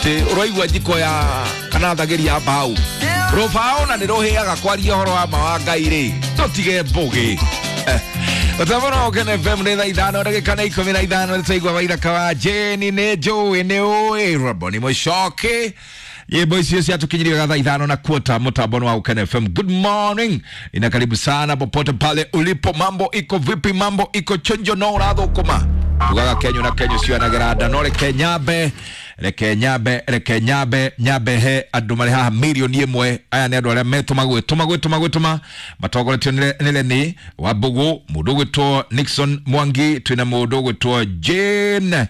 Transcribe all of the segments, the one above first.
Ũraigua njiko ya kana thagĩri ya mbaũ rũbaũ na nĩ rũhĩaga kwaria ũhoro wa ma wa Ngai rĩ, tũtige mbũgĩ. Mũtambo no Ũkene FM nĩ thaa 5 ndagĩka nĩ 15. Nĩ twaigua waithaka wa Jane nĩ njũĩ nĩ ũĩ Roboni Mũcoki. Nyĩmbo icio ciatũkinyirie wega thaa 5:15 mũtambo wa Ũkene FM. Good morning ina karibu sana popote pale ulipo. Mambo iko vipi? Mambo iko chonjo? No ũrathũkũma tugaga kenyu na kenyu cianagĩra nda, no reke nyambe, reke nyambe, reke nyambe nyambe he andũ marĩ haha 1,000,000. Aya nĩ andũ arĩa metũma gwĩtũma gwĩtũma gwĩtũma matongoretio nĩ Leni wa Mbugu, mũndũ ũgwĩtwo Nixon Mwangi, twĩna mũndũ ũgwĩtwo Jane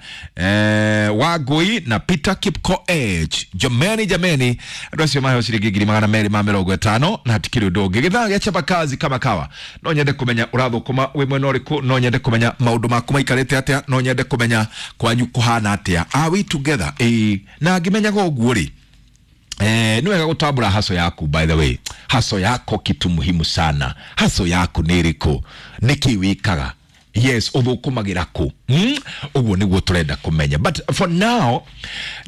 Wangui na Peter Kipkoech. Jameni, jameni, andũ acio maheo ciringi 250,000 na hatikĩrĩ ũndũ ũngĩ. Gĩthaa gĩa chapa kazi kama kawa. No nyende kũmenya ũrathũkũma wĩ mwena ũrĩkũ, no nyende kũmenya maũndũ maku maikarĩte atĩa, no nyende kũmenya kwanyu kũhana atĩa. Are we together? Ĩĩ, na ngĩmenyaga ũguo rĩ, nĩ wega gũtambũra haso yaku. By the way, haso yako kitu muhimu sana. Haso yaku nĩ ĩrĩkũ? Nĩkĩ wĩkaga? Yes, ũthũkũmagĩra kũ? Ũguo nĩguo tũrenda kũmenya, but for now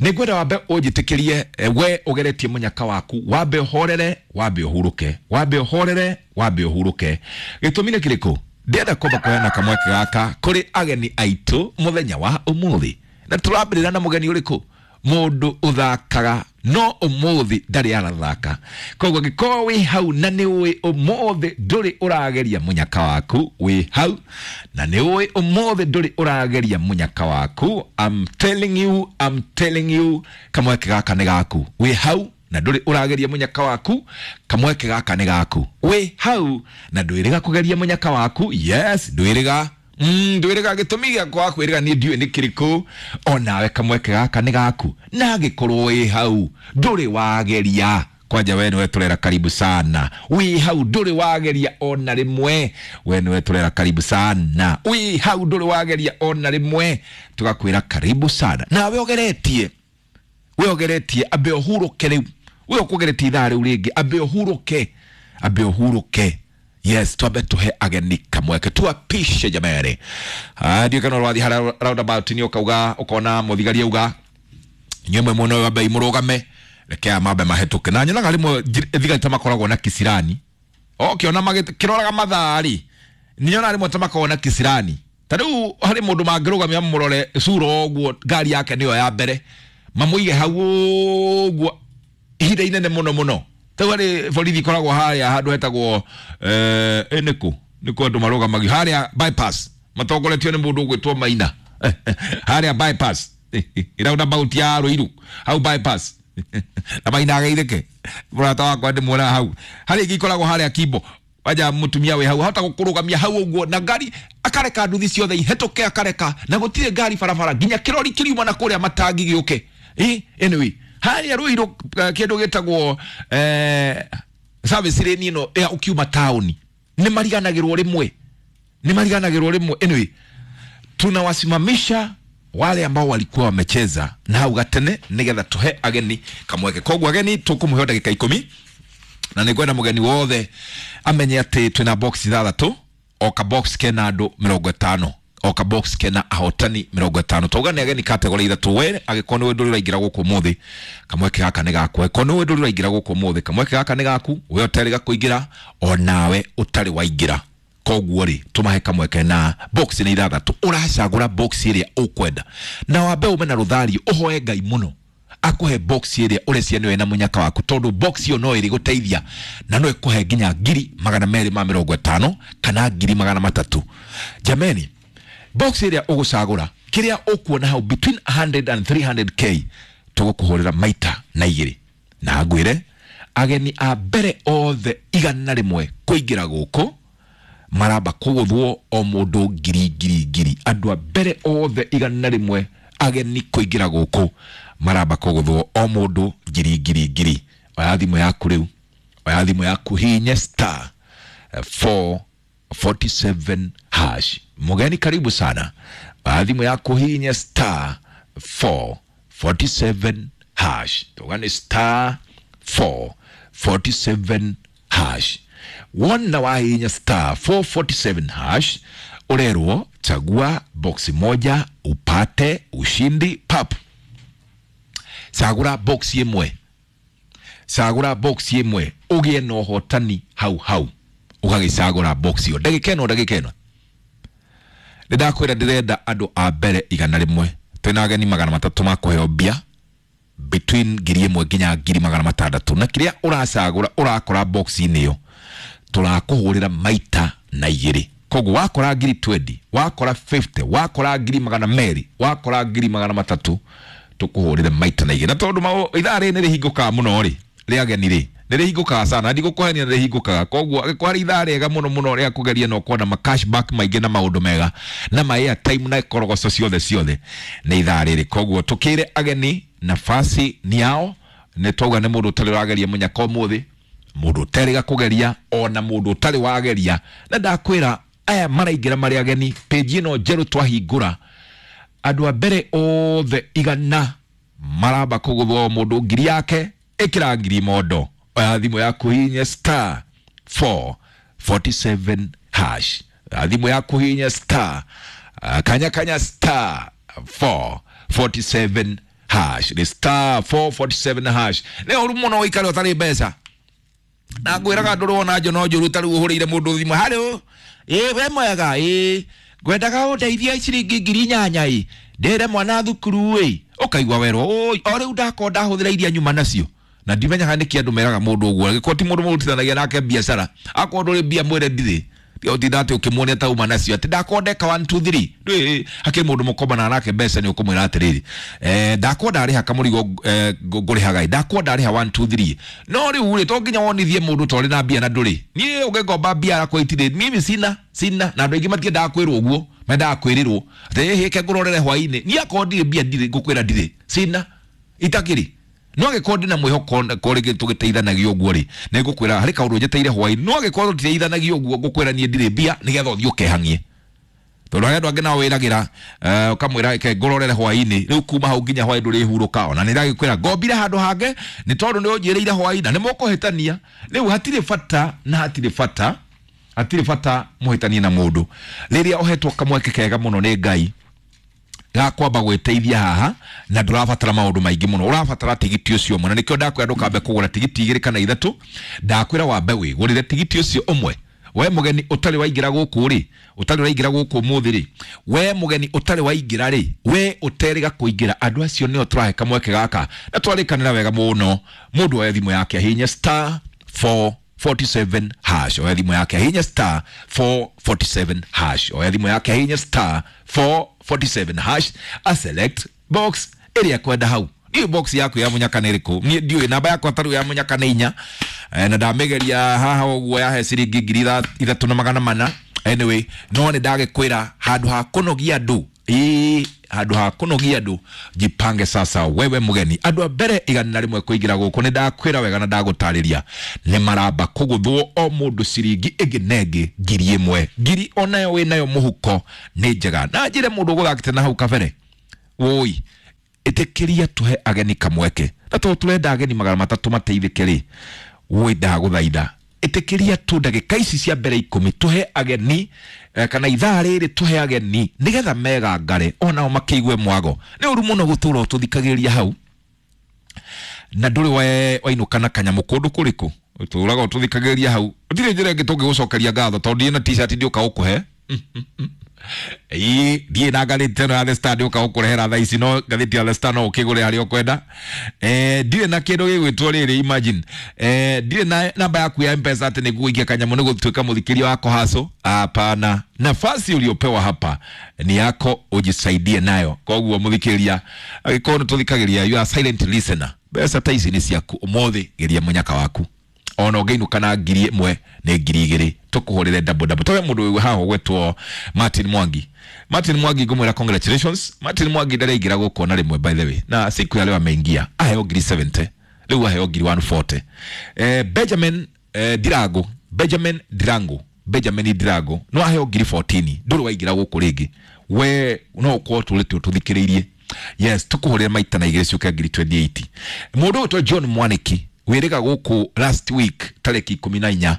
nĩ ngwenda wambe ũnjĩtĩkĩrie, we ũgeretie mũnyaka waku, wambe ũhorere, wambe ũhurũke, wambe ũhorere, wambe ũhurũke. Gĩtũmi nĩ kĩrĩkũ? Ndĩrenda kwamba kũheana kamweke gaka kũrĩ ageni aitũ mũthenya wa ũmũthĩ. Na tũrambĩrĩra na mũgeni ũrĩkũ? Mũndũ ũthakaga no ũmũthĩ ndarĩ arathaka. Koguo angĩkorwo wĩ hau na nĩ ũĩ ũmũthĩ ndũrĩ ũrageria mũnyaka waku, wĩ hau na nĩ ũĩ ũmũthĩ ndũrĩ ũrageria mũnyaka waku, I'm telling you, I'm telling you, kamweke gaka nĩ gaku. Wĩ hau na ndũrĩ ũrageria mũnyaka waku, kamweke gaka nĩ gaku. Wĩ hau na ndwĩrĩga kũgeria mũnyaka waku, yes, ndwĩrĩga, ndwĩrĩga. Gĩtũmi gĩakwa kwĩrĩga niĩ ndiũĩ nĩ kĩrĩkũ. Onawe kamweke gaka nĩ gaku. Na angĩkorwo wĩ hau ndũrĩ wageria, kwanja we nĩwe tũrera karibu sana. Wĩ hau ndũrĩ wageria ona rĩmwe, we nĩwe tũrera karibu sana. Wĩ hau ndũrĩ wageria ona rĩmwe, tũgakwĩra karibu sana. Nawe ũgeretie, we ũgeretie, ambe ũhurũke rĩu. We ũkũgeretie ithaa rĩu rĩngĩ, ambe ũhurũke, ambe ũhurũke. Yes, twambe tuhe ageni kamweke tuapishe jamani. Ndiũ kana ũrathiĩ harĩa roundabout nĩ ũkauga ũkona mũthigari auga inyuĩ mwena ũyũ ambei mũrũgame, reke aya mambe mahĩtũke. Na nyonaga rĩmwe thigari ta makoragwo na kisirani ũkĩona makĩroraga mathaa rĩ, nyonaga rĩmwe ta makoragwo na kisirani. Ta rĩu harĩ mũndũ mangĩrũgamia mamũrore cura ũguo, ngari yake nĩyo ya mbere, mamũige hau ũguo ihinda inene mũno mũno. Rĩu harĩ borithi ikoragwo harĩa handũ hetagwo nĩkũ nĩkũ andũ marũgamagio harĩa bypass, matongoretio nĩ mũndũ ũgwĩtwo Maina harĩa bypass, roundabout ya Ruiru hau bypass, na Maina ageithĩke mũrata wakwa ndĩmuonaga hau. Harĩ ingĩ ikoragwo harĩa Kimbo wanja, mũtumia wĩ hau ahota gũkũrũgamia hau ũguo na ngari, akareka nduthi ciothe ihĩtũke, akareka na gũtirĩ ngari barabara nginya kĩrori kĩriuma na kũrĩa matangi gĩũke. Anyway, harĩa Ruiru kĩndũ gĩtagwo service lane ĩno ya ũkiuma taũni, nĩ mariganagĩrwo rĩmwe, nĩ mariganagĩrwo rĩmwe. Anyway, tunawasimamisha wale ambao walikuwa wamecheza na hau gatene nigetha tuhe ageni kamweke. Koguo ageni tũkũmũhe ndagĩka 10, na nĩngwenda mũgeni wothe amenye atĩ twĩna box ithathatũ, o ka box kena andũ 50, o ka box kena ahotani 50. Twauga nĩ ageni category ithatũ. We angĩkorwo nĩwe ndũrĩ ũraingĩra gũkũ ũmũthĩ, kamweke gaka nĩ gaku. Angĩkorwo nĩwe ndũrĩ ũraingĩra gũkũ ũmũthĩ, kamweke gaka nĩ gaku. We ũtarĩ kũingĩra, onawe ũtarĩ waingĩra, koguo rĩ, tũmahe kamweke. Na box nĩ ithathatũ, ũracagũra box ĩrĩa ũkwenda na wambe ume na rũthario, ũhoe Ngai mũno akũhe box ĩrĩa ũrecia nĩwe na mũnyaka waku, tondũ box ĩyo no ĩrĩgũteithia na no ĩkũhe nginya 250,000 kana 300,000. Jameni, box ĩrĩa ũgũcagũra, kĩrĩa ũkuona hau between 100 and 300K, tũgũkũhũrĩra maita na igĩrĩ. Na ngwĩre ageni a mbere othe 100 kũingĩra gũkũ maramba kũgũthwo o mũndũ ngiri ngiri ngiri. Andũ a mbere othe 100 ageni kũingĩra gũkũ maramba kũgũthwo o mũndũ ngiri ngiri ngiri. Oya thimũ yaku rĩu, oya thimũ yaku, hinye star 447 hash. Mũgeni karibu sana. Oya thimũ yaku, hinye star 447 hash. Tuga nĩ star 447 hash. Wona wahinya star 447 hash, urerwo chagua boksi moja upate ushindi pap. Cagũra box ĩmwe, cagũra box ĩmwe ũgĩe na ũhotani hau hau, ũgagĩcagũra box ĩyo. Ndagĩka ĩno, ndagĩka ĩno nĩ ndakwĩra ndĩrenda andũ a mbere 100. Twĩna ageni 300 ma kũheo mbia between 1,000 nginya 600,000, na kĩrĩa ũracagũra ũrakora box-inĩ ĩyo tũrakũhũrĩra maita na igĩrĩ. Koguo wakora 20,000, wakora 50, wakora 200,000, wakora 300,000, tũkũhũrĩre maita na igĩrĩ. Na tondũ ithaa rĩrĩ nĩ rĩhingũkaga mũno rĩ, rĩa ageni rĩ nĩ rĩhingũkaga sana, ndigũkũhenia nĩ rĩhingũkaga. Koguo angĩkorwo harĩ ithaa rĩega mũno mũno rĩa kũgeria na ũkona ma cashback maingĩ na maũndũ mega na ma airtime na korogoco ciothe ciothe nĩ ithaa rĩrĩ. Koguo tũkĩre ageni nafasi ni yao. Nĩ twauga nĩ mũndũ ũtarĩ ũrageria mũnyaka ũmũthĩ, mũndũ ũtarĩ kũgeria, ona mũndũ ũtarĩ wageria. Na ndakwĩra aya maraingĩra marĩ ageni page ĩno njerũ twahingũra, andũ a mbere othe 100 maramba kũgũthwo mũndũ 1,000 yake, ĩkĩra 1,000 mondo. Oya thimũ yaku hihinya star 447 hash. Oya thimũ yaku hihinya star kanya kanya star 447 hash. Nĩ star 447 hash. Nĩ ũru mũno ũikare ũtarĩ mbeca. Na ngwĩraga ndũrĩ wona njono njũru ta rĩu ũhũrĩire mũndũ thimũ, haro ĩ we mwega, ĩ ngwendaga ũndeithie ciringi 8,000 ĩ ndĩre mwana thukuru ĩ, ũkaigua werwo oi o rĩu ndakorwo ndahũthĩra iria nyuma nacio. Na ndimenyaga nĩkĩ andũ meraga mũndũ ũguo, angĩkorwo ti mũndũ mũrutithanagia nake biacara, akorwo ndũrĩ mbia mwĩre ndirĩ, ũtinda atĩ ũkĩmuonia ta uma nacio atĩ ndakorwo ndeka 1 2 3. Ndũĩ hakĩrĩ mũndũ mũkombanaga nake mbeca nĩ ũkũmwĩra atĩrĩrĩ, ndakorwo ndarĩha kamũrigo ngũrĩhaga ĩ, ndakorwo ndarĩha 1 2 3. No rĩu rĩ to nginya wonithie mũndũ ta ũrĩ na mbia na ndũrĩ. Niĩ ũngĩngomba mbia yakwa itirĩ, mimi sina sina, na andũ aingĩ matiendaga kwĩrwo ũguo, mendaga kwĩrĩrwo atĩ hĩke ngũrorere hwainĩ. Niĩ akorwo ndirĩ mbia ndirĩ, ngũkwĩra ndirĩ sina itakĩrĩ. No angĩkorwo ndĩna mwĩhoko ko rĩngĩ tũgĩteithanagia ũguo rĩ, nĩ ngũkwĩra harĩ kaũndũ njeteire hwainĩ. No angĩkorwo tũtiteithanagia ũguo, ngũkwĩra niĩ ndirĩ mbia nĩgetha ũthiĩ ũkehang'ie. Tondũ harĩ andũ angĩ nao wĩragĩra, ũkamwĩra reke ngũrorere hwainĩ, rĩu kuma hau nginya hwainĩ ndũrĩhurũka. Ona nĩ ndagĩkwĩra ngombire handũ hangĩ nĩ tondũ nĩ ũnjĩrĩire hwainĩ na nĩ mũkũhĩtania. Rĩu hatirĩ bata na hatirĩ bata, hatirĩ bata mũhĩtanie na mũndũ. Rĩrĩa ũhetwo kamweke kega mũno nĩ Ngai ga kwamba gwĩteithia haha, na ndũrabatara maũndũ maingĩ mũno, ũrabatara tigiti ũcio ũmwe. Na nĩkĩo ndakwĩra ndũkambe kũgũra tigiti 2 kana 3, ndakwĩra wambe wĩgũrĩre tigiti ũcio ũmwe. We mũgeni ũtarĩ waingĩra gũkũ rĩ, ũtarĩ ũraingĩra gũkũ ũmũthĩ rĩ, we mũgeni ũtarĩ waingĩra rĩ, we ũterĩga kũingĩra, andũ acio nĩo tũrahe kamweke gaka. Na twarĩkanĩra wega mũno, mũndũ oe thimũ yake ahihinye star 447 hash. Oya thimũ yake ahihinye star 447 hash. Oya thimũ yake ahihinye star 447 hash, a select box ĩrĩa kwenda hau. Niĩ box yaku ya mũnyaka nĩ ĩrĩkũ? Niĩ ndiũĩ namba yakwa tarĩu ya mũnyaka nĩ 4, na ndamĩgeria haha ũguo yahe ciringi 3,400. Anyway, no nĩ ndagĩkwĩra handũ ha kũnogia andũ, ĩĩ handũ ha kũnogia andũ, jipange sasa wewe mũgeni. Andũ a mbere 100 kũingĩra gũkũ nĩ ndakwĩra wega na ndagũtarĩria nĩ maramba kũgũthwo o mũndũ ciringi ĩngĩ na ĩngĩ 1,000. 1,000 onayo wĩnayo mũhuko nĩ njega. Na njĩre mũndũ ũgũthakĩte na hau kabere, woi ĩtĩkĩria tũhe ageni kamweke, na tondũ tũrenda ageni 300 mateithĩke rĩ, woi ndagũthaitha ĩtĩkĩria tu ndagĩka ici cia mbere 10 tũhe ageni, kana ithaa rĩrĩ tũhe ageni nĩgetha megangare onao makĩigue mwago. Nĩ ũru mũno gũtũra ũtũthikagĩrĩria hau na ndũrĩ wainũka na kanyamũ kũndũ kũrĩkũ, ũtũraga ũtũthikagĩrĩria hau. Gũtirĩ njĩra ĩngĩ tũngĩgũcokeria ngatho tondũ ndiĩ na t-shirt ndĩũka gũkũhe. Ĩĩ, ndiĩ na ngathĩti ĩno ya The Star ndĩũka gũkũrehera thaa ici, no ngathĩti ya The Star no ũkĩgũre harĩa ũkwenda. Ndirĩ na kĩndũ gĩgwĩtwo rĩrĩ, imagine. Ndirĩ na namba yaku ya M-Pesa atĩ nĩguo ũikie kanyamũ nĩ gũtuĩka mũthikĩria wa Kohaco. Hapana, nafasi uliopewa hapa ni yako, ujisaidie nayo. Koguo mũthikĩria, angĩkorwo nĩ tũthikagĩria, you are silent listener, mbeca ta ici nĩ ciaku ũmũthĩ, geria mũnyaka waku. Ona ũngĩinũka na 1,000 nĩ 2,000, tũkũhũrĩre double double. Tũhe mũndũ wĩ haha ũgwĩtwo Martin Mwangi. Martin Mwangi ngũmwĩra congratulations. Martin Mwangi ndaraingĩra gũkũ ona rĩmwe by the way, na siku ya leo ameingia, aheo 70,000, rĩu aheo 140,000. Benjamin Dirango, Benjamin Dirango, Benjamin Dirango no aheo 14,000, ndũrĩ waingĩra gũkũ rĩngĩ. We no ũkorwo tũrĩte ũtũthikĩrĩirie. Yes, tũkũhũrĩre maita na igĩrĩ ciũke 28,000. Mũndũ ũgwĩtwo John Mwaniki wĩrĩga gũkũ last week tarĩki 14,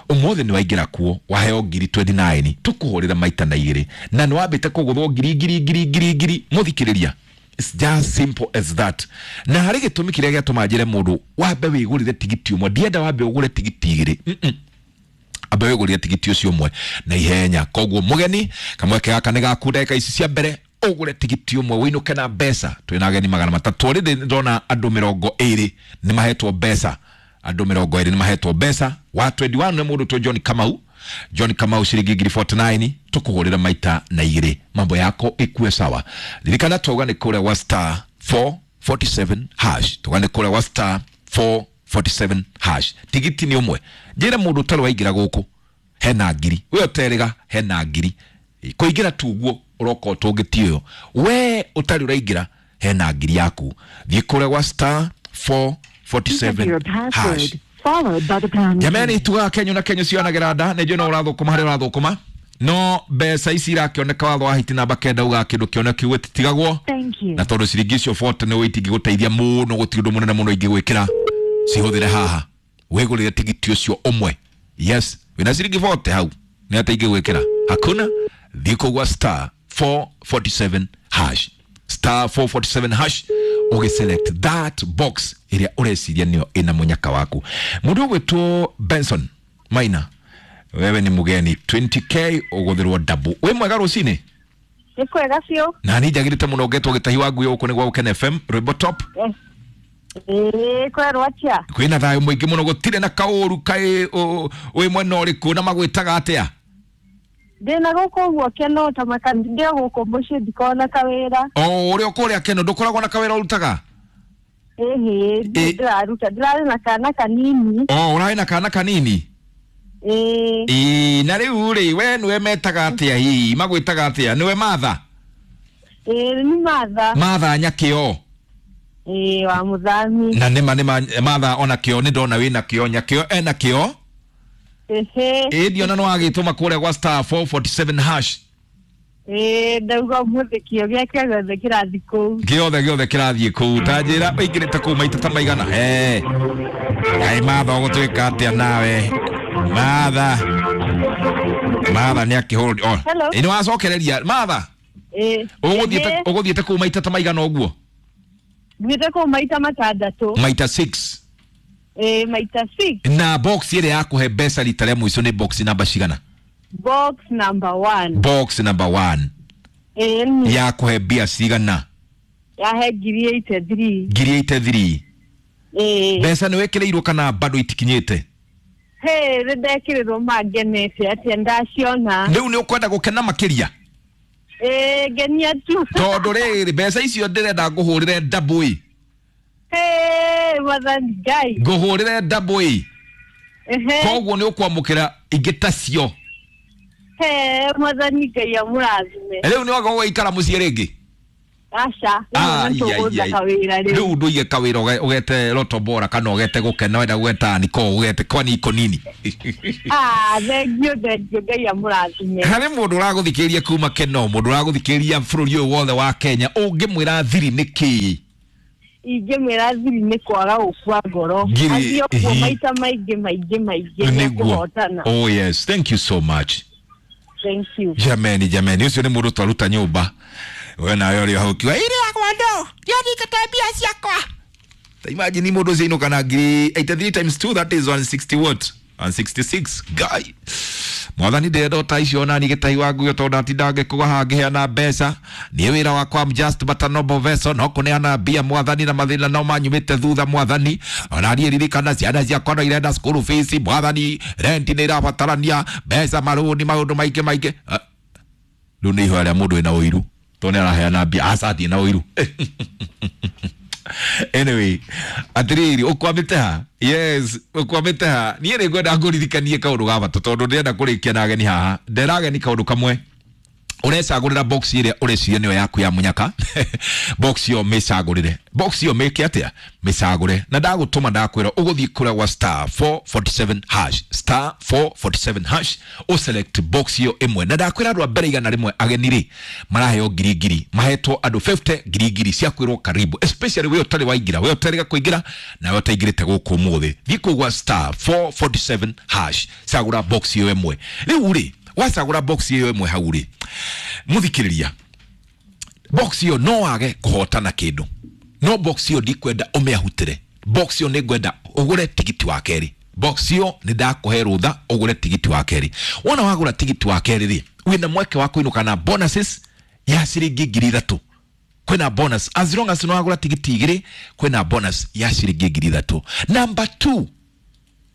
ũmũthĩ nĩ waingĩra kuo waheo 29,000, tũkũhũrĩra maita na igĩrĩ, na nĩ wambĩte kũgũthwo ngiri ngiri ngiri ngiri ngiri. Mũthikĩrĩria, It's just simple as that. Na harĩ gĩtũmi kĩrĩa gĩatũma njĩre mũndũ wambe wĩgũrĩre tigiti ũmwe, ndienda wambe ũgũre tigiti igĩrĩ. Ambe wĩgũrĩre tigiti ũcio ũmwe na ihenya. Koguo mũgeni, kamweke gaka nĩ gaku ndagĩka ici cia mbere ũgũre tigiti ũmwe wĩinũke na mbeca. Twĩna ageni 300 already, ndona andũ 20 nĩ mahetwo mbeca, andũ 20 nĩ mahetwo mbeca. Wa 21 nĩ mũndũ tũ John Kamau, John Kamau ciringi ngiri 49, tukũhũrĩra maita na igĩrĩ, mambo yako ikue sawa. Ririkana twauga nĩ kũrĩa wa star 447 hash, twauga nĩ kũrĩa wa star 447 hash. Tigiti nĩ ũmwe, njĩre mũndũ ũtarĩ waingĩra gũkũ hena ngiri, we ũterĩga hena ngiri, kũingĩra tu ũguo ũroka ũtũngĩtie ũyũ, we ũtarĩ ũraingĩra hena ngiri yaku. Thiĩ kũrĩa gwa star 447 hash. Jamani, tugaga kenyo na kenyo cionagĩra nda, nĩ njũĩ no ũrathũkũma harĩa ũrathũkũma, no mbeca ici irakĩoneka watho wa hiti namba 9 ugaga kĩndũ kĩoneki gĩtitigagwo, na tondũ ciringi icio 40 nĩ itingĩgũteithia mũno, gũtirĩ ũndũ mũnene mũno ingĩgwĩkĩra, cihũthĩre haha wĩgũrĩre tigiti ũcio ũmwe. Yes, wĩna ciringi 40 hau nĩ atĩa ingĩgwĩkĩra? Hakuna. Thiĩ kũu gwa star 447 hash, star 447 hash, ũgĩselect that box ĩrĩa ũreciria nĩyo ĩna mũnyaka waku. Mũndũ ũgwĩtwo Benson Maina, wewe ni mũgeni, 20k ũgũthĩrwo double. Wĩ mwega rũcinĩ? Nĩ kwega biũ. Na niĩ njagĩrĩte mũno ngetwo gĩtahi wa ngui gũkũ nĩ gwa Gũkena FM, rwĩmbo top. Ĩĩ, kwerwo atĩa? Kwĩna thayũ mũingĩ mũno, gũtirĩ na kaũru. Kaĩ wĩ mwena ũrĩkũ na magwĩtaga atĩa? Ndĩna gũkũ ũguo Keno ta maka, ndĩ o gũkũ mũciĩ, ndikoragwo na kawĩra. O ũrĩa ũkũrĩa Keno ndũkoragwo na kawĩra ũrutaga? Ĩhĩ, ndĩraruta, ndĩrarĩ na kana kanini. O ũrarĩ na kana kanini? Ĩĩ. Ĩĩ, na rĩu rĩ, we nĩwe metaga atĩa hihi? Magwĩtaga atĩa? Nĩwe Martha? Ĩĩ, nĩ Martha. Martha Nyakĩo. Ĩĩ, wa mũthami. Na nĩma nĩma Martha ona kĩo nĩ ndona wĩna kĩo, Nyakĩo ena kĩo. Ĩhĩ. Ĩĩ, ndiona no wagĩtũma kũrĩa gwa star 447 hash. Ĩĩ, ndauga ũmũthĩ kĩo gĩake gĩothe kĩrathiĩ kũu. Gĩothe gĩothe kĩrathiĩ kũu. Ta njĩra ũingĩrĩte kũu maita ta maigana? Kaĩ Martha ũgũtuĩka atĩa nawe? Martha. Martha nĩ akĩhũrwo. Oh. Hello. Ĩ, nĩ wacokereria Martha? Ĩĩ. Ũgũthiĩte kũu maita ta maigana ũguo? Thiĩte kũu maita 6. Maita 6. Ĩĩ, maita 6. Na box ĩrĩa yakũhe mbeca rita rĩa mũico nĩ box namba cigana? Box number 1. Box number 1. Ĩĩ. Yakũhe mbia cigana? Yahe ngiri 83. Ngiri 83. Ĩĩ. Mbeca nĩ wĩkĩrĩirwo kana bado itikinyĩte? Hĩ, nĩ ndekĩrĩrwo mangenete atĩa ndaciona. Rĩu nĩ ũkwenda gũkena makĩria? Ĩĩ, ngenia tu. Tondũ rĩrĩ, mbeca icio ndĩrenda ngũhũrĩre double ĩ. Hĩ, Mwathani Ngai. Ngũhũrĩre double ĩ. Ehe. Koguo nĩ ũkwamũkĩra ingĩ tacio. Hĩ, Mwathani Ngai amũrathime. Rĩu nĩ waga gũikara mũciĩ rĩngĩ? Aca, rĩu nĩ tũgũtha kawĩra rĩu. Rĩu ndũige kawĩra ũgete Loto Bora kana ũgete Gũkena, wenda gũgeta Niko, ũgete kwani iko nini? Ah, thengio, thengio, Ngai amũrathime. Harĩ mũndũ ũragũthikĩrĩria kuma Keno, mũndũ ũragũthikĩrĩria bũrũri ũyũ wothe wa Kenya, ũngĩmwĩra thiri nĩ kĩĩ? Ingĩmwĩra thiri nĩ kwaga gũkua ngoro. Ngiri, Athiĩ ũguo ĩhĩ. maita maingĩ maingĩ maingĩ Nĩguo. nĩekũhotana. Oh yes, thank you so much. Thank you. Jameni, jameni, ũcio nĩ mũndũ twaruta nyũmba. We nawe ũrĩ hau ũkiuga, ĩrĩ yakwa ndo, ndiathikĩte mbia ciakwa. Ta imagine mũndũ ũcio ainũka na ngiri 83 times 2, that is 160 what? 166. Guy. Mwathani ndĩrenda ta icio nani gĩtahi wa nguo tondũ ndatinda ngĩkũga haha ngĩheana mbeca. Niĩ wĩra wakwa I'm just but a noble vessel, no kũneana mbia mwathani, na mathĩna no manyumĩte thutha mwathani. Ona niĩ ririkana ciana ciakwa no irenda school fees mwathani, rent nĩ irabatarania, mbeca, marũni, maũndũ maingĩ maingĩ. Rĩu nĩ ihoya rĩa mũndũ wĩna ũiru tondũ nĩ araheana mbia, aca ndirĩ na ũiru. Anyway, atiriri ukwamite ha? Yes, ukwamite ha? Niĩ nĩ ngwenda ngũririkanie kaũndũ ga bata tondũ ndĩrenda kũrĩkia na ageni haha. Ndera ageni kaũndũ kamwe. Ũrecagũrĩra box ĩrĩa ũreciria nĩyo yaku ya mũnyaka. Box ĩyo mĩcagũrĩre. Box ĩyo mĩke atĩa? Mĩcagũre. Na ndagũtũma ndakwĩra ũgũthiĩ kũrĩa gwa star 447 hash, star 447 hash, ũselect box ĩyo ĩmwe. Na ndakwĩra andũ a mbere 100 ageni rĩ maraheo ngiri ngiri, mahetwo andũ 50 ngiri ngiri cia kwĩrwo karibu, especially we ũtarĩ waingĩra, we ũtarĩ kũingĩra na we ũtaingĩrĩte gũkũ ũmũthĩ. Thiĩ kũu gwa star 447 hash, cagũra box ĩyo ĩmwe. Rĩu rĩ, wacagũra box ĩyo ĩmwe hau rĩ, mũthikĩrĩria, Box ĩyo no wage kũhotana kĩndũ, no box ĩyo ndikwenda ũmĩahutĩre. Box ĩyo nĩ ngwenda ũgũre tigiti wa kerĩ. Box ĩyo nĩ ndakũhe rũtha ũgũre tigiti wa kerĩ. Wona wagũra tigiti wa kerĩ rĩ, wĩna mweke wa kũinũka na bonuses ya ciringi 3,000. Kwĩna bonus as long as nĩwagũra tigiti 2, kwĩna bonus ya ciringi 3,000. Number 2,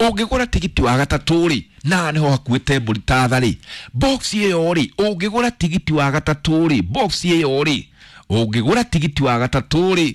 ũngĩgũra tigiti wa gatatũ rĩ, na nĩho hakuĩte mbũri ta tha rĩ, box ĩyo rĩ, ũngĩgũra tigiti wa gatatũ rĩ, box ĩyo rĩ, ũngĩgũra tigiti wa gatatũ rĩ,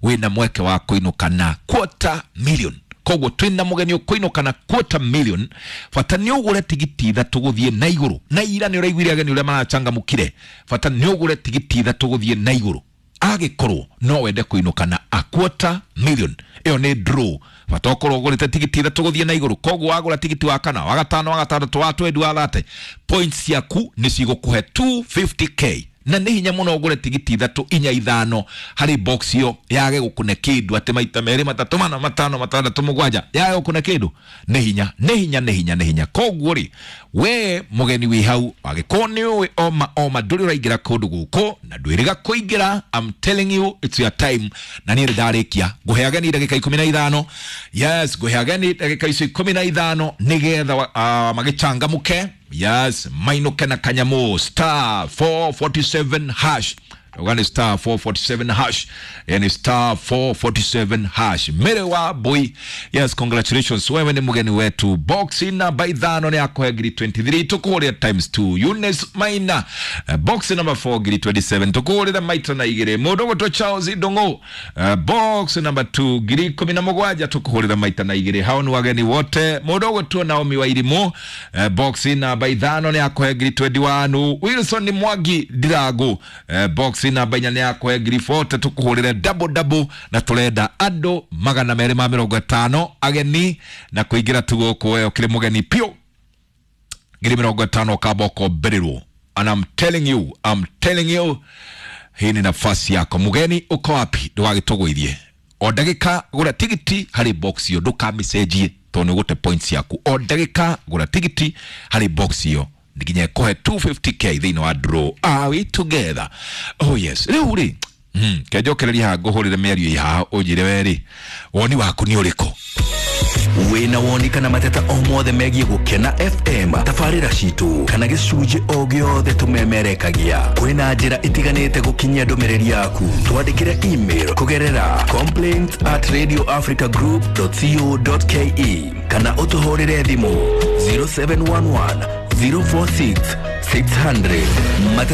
wĩna mweke wa kũinũka na 250,000. Koguo twĩna mũgeni ũkũinũka na 250,000. Bata nĩ ũgũre tigiti 3 gũthiĩ na igũrũ. Na ira nĩ ũraiguire ageni ũrĩa marachangamũkire. Bata nĩ ũgũre tigiti 3 gũthiĩ na igũrũ agĩkorwo no wende kũinũka na 250,000. Ĩyo nĩ draw. Bata ũkorwo ũgũrĩte tigiti 3 gũthiĩ na igũrũ. Koguo wagũra tigiti wa kana, wa gatano, wa gatandatũ, wa 20, wa 30, points ciaku nĩ cigũkũhe 250k. Na nĩ hinya mũno ũgũre tigiti 3 4 5 harĩ box ĩyo yage gũkũne kĩndũ, atĩ maita 2 3 4 5 6 7 yage gũkũne kĩndũ. Nĩ hinya, nĩ hinya, nĩ hinya, nĩ hinya. Koguo rĩ, we mũgeni wĩ hau, angĩkorwo nĩ ũĩ oma oma ndũrĩ ũraingĩra kũndũ gũkũ na ndwĩrĩga kũingĩra, I'm telling you it's your time. Na niĩ nĩndarĩkia ngũhe ageni ndagĩka 15. Yes, ngũhe ageni ndagĩka icio 15 nĩgetha magĩchangamũke. Yes, mainũke na kanyamũ star 447 hash. Ugani star 447 hash. Yani star 447 hash. Mere wa boy. Yes, congratulations. Wewe ni mgeni wetu. Box namba 5 ni yako ya ngiri 23. Tukuhuria times 2. Eunice Maina. Box number 4 ngiri 27. Tukuhuria maita na igire. Mudogo to Charles Idongo. Box number 2 ngiri 17. Tukuhuria maita na igire. Hao ni wageni wote. Mudogo tu Naomi wa Irimo. Box namba 5 ni yako ya ngiri 21. Wilson Mwangi Dirago. Box namba 4 ni yako ya ngiri 40. Tukuhurire double double na turenda andu 250 ageni na kuingira tu guku we ukiri mugeni piu ngiri 50 ukamba ukombererwo. And I'm telling you, I'm telling you, hii ni nafasi yako mugeni. Uko wapi? Ndugagituguithie o ndagika gura tigiti hari box iyo, ndukamicenjie tondu ni gute points yaku. O ndagika gura tigiti hari box iyo nginya ĩkũhe 250k thĩinĩ wa draw. Are we together? Oh yes. Rĩu rĩ, kenjokereria haha ngũhũrĩre mĩario ĩ haha ũnjĩre we rĩ, woni waku nĩ ũrĩkũ? Wĩna woni kana mateta o mothe megiĩ Gũkena FM, tabarĩra citũ kana gĩcunjĩ o gĩothe tũmemerekagia, kwĩna njĩra itiganĩte gũkinyia ndũmĩrĩri yaku. Twandĩkĩre email kũgerera complaints@radioafricagroup.co.ke kana ũtũhũrĩre thimũ 0711 046 600.